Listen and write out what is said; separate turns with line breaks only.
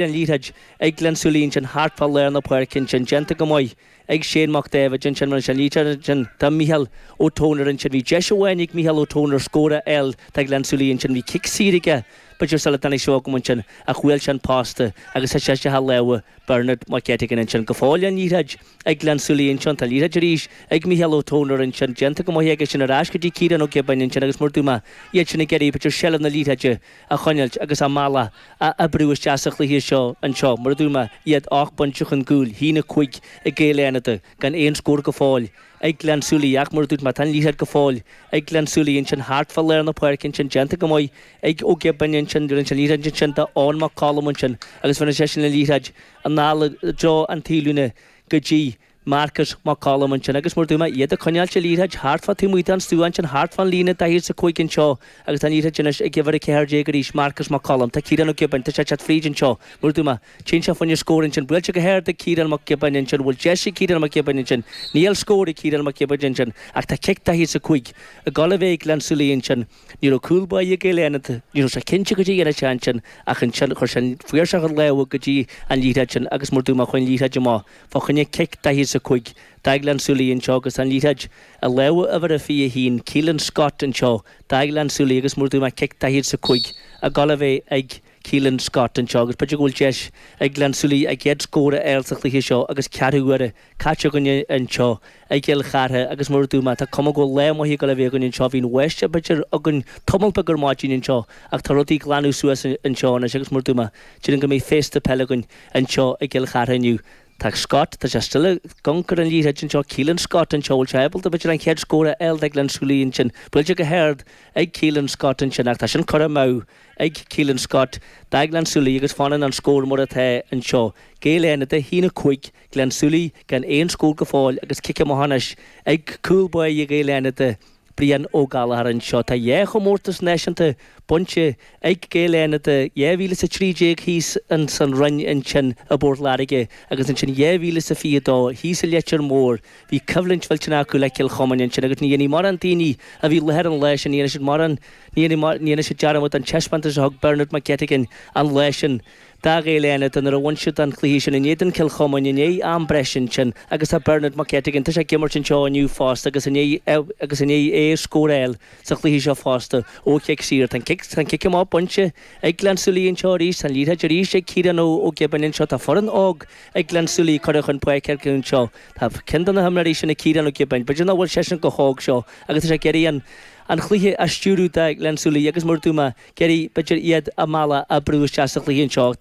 An liathróid ag Gleann tSúilí ansin thart fá lár na páirce ansin, déanta go maith ag Shane Mac Daibhéid ansin, rinne sé an liathróid ansin do Mhícheál Ó Tónair ansin. Bhí deis amháin ag Mícheál Ó Tónair scór a fháil do Ghleann tSúilí ansin, bhí cic saor aige b'fhéidir sula dtáinig sé chugam ansin ach bhuail sé an posta agus thit sé isteach i lámha Bernard Mac Gettigan ansin. Go fóill an liathróid ag Gleann tSúilí ansin, tá an liathróid arís ag Mícheál Ó Tónair ansin, déanta go maith aige sin ar ais go dtí Ciarán Ó Giobáin ansin agus mar a dúirt mé, iad sin ag iarraidh b'fhéidir seilbh na liathróide a choinneáilt agus a mbealach a oibriú isteach sa chluiche seo anseo. Mar a dúirt mé, iad 8 bpointe chun cúil, 1-5 ag Gaeil Fhánada, gan aon scór go fóill ag Gleann tSúilí ach mar a dúirt mé, tá an liathróid go fóill ag Gleann tSúilí ansin thart fá lár na páirce ansin, déanta go maith ag Ó Giobáin ansin, rinne sé an liathróid ansin do Eoin Mac Colm ansin agus rinne seisean an liathróid anall i dtreo an taobhlíne go dtí Marcus Mac Colm ansin agus mar a dúirt mé, iad ag coinneáilt an liathróid thart fá taobh amuigh den stua ansin, thart fán líne 45 anseo agus tá an liathróid anois ag uimhir 14 arís, Marcus Mac Colm. Tá Ciarán Ó Giobáin, tá sé ag teacht fríd anseo, mar a dúirt mé, téann sé fá choinne scór ansin, buailte go hard ag Ciarán Mac Giobáin ansin, bhfuil deis ag Ciarán Mac Giobáin ansin? Níl scór ag Ciarán Mac Giobáin ansin ach tá cic 45 ag dul a bheith ag Gleann tSúilí ansin. Ní raibh cúl báire Gaeil Fhánada, ní raibh sé cinnte goidé a dhéanfadh sé ansin ach ansin chuir sé an fuirseach a lámha go dtí an liathróid sin agus mar a dúirt mé chuaigh an liathróid amach fá choinne cic 45 do Ghleann tSúilí anseo agus an liathróid i lámha uimhir a 21, Keelan Scott anseo do Ghleann tSúilí agus mar a dúirt mé cic 45 ag dul a bheith ag Keelan Scott anseo agus b'fhéidir go bhfuil deis ag Gleann tSúilí a gcéad scór a fháil sa chluiche seo agus ceathrú uaire caite againn anseo i gCill Chartha agus mar a dúirt mé, tá cuma go bhfuil lá maith ag dul a bheith againn anseo. Bhí an bháisteach b'fhéidir againn tamall beag ar maidin anseo ach tá rudaí ag glanadh suas anseo anois agus mar a dúirt mé, déarfainn go mbeidh féasta peile againn anseo i gCill Chartha inniu. Tá Scott, tá sé still ag amharc ar an liathróid anseo, Keelan Scott anseo, bhfuil sé ábalta b'fhéidir an chéad scór a fháil do Ghleann tSúilí ansin. Buailte go hard ag Keelan Scott ansin ach tá sin curtha amú ag Keelan Scott do Ghleann tSúilí agus fanann an scór mar atá anseo. Gaeil Fhánada, 1-5, Gleann tSúilí gan aon scór go fóill agus cic amach anois ag cúl báire Ghaeil Fhánada, Brian Ó Gallchóir anseo. Tá dhá chomórtas náisiúnta bainte ag Gaeil Fhánada, 2013 thíos ins an Rinn ansin i bPort Láirge agus ansin 2022 thíos i Leitir Móir. Bhí coimhlint mhillteanach acu le Cill Chomáin ansin agus ní dhéanfaidh mórán daoine a bhí i láthair an lá sin, ní dhéanfaidh siad mórán, ní dhéanfaidh siad dearmad den taispeántas a thug Bernard McGettigan an lá sin. Do Ghaeil Fhánada nuair a bhain siad an cluiche sin in éadan Cill Chomáin i ndiaidh am breise ansin agus tá Bernard McGettigan, tá sé ag imirt anseo inniu fosta agus i ndiaidh agus i ndiaidh é scór a fháil sa chluiche seo fosta ó chic saor. Tá an cic tá an cic amach bainte ag Gleann tSúilí anseo arís, tá an liathróid arís ag Ciarán Ó Ó Giobáin anseo, tá foireann óg ag Gleann tSúilí curtha chun páirce acu anseo. Tá ceann de na himreoirí sin ag Ciarán Ó Giobáin, b'fhéidir nach bhfuil seisean chomh hóg seo agus tá sé ag iarraidh an an chluiche a stiúradh do Ghleann tSúilí agus mar a dúirt mé, ag iarraidh, b'fhéidir, iad a mbealach a oibriú isteach sa chluiche anseo.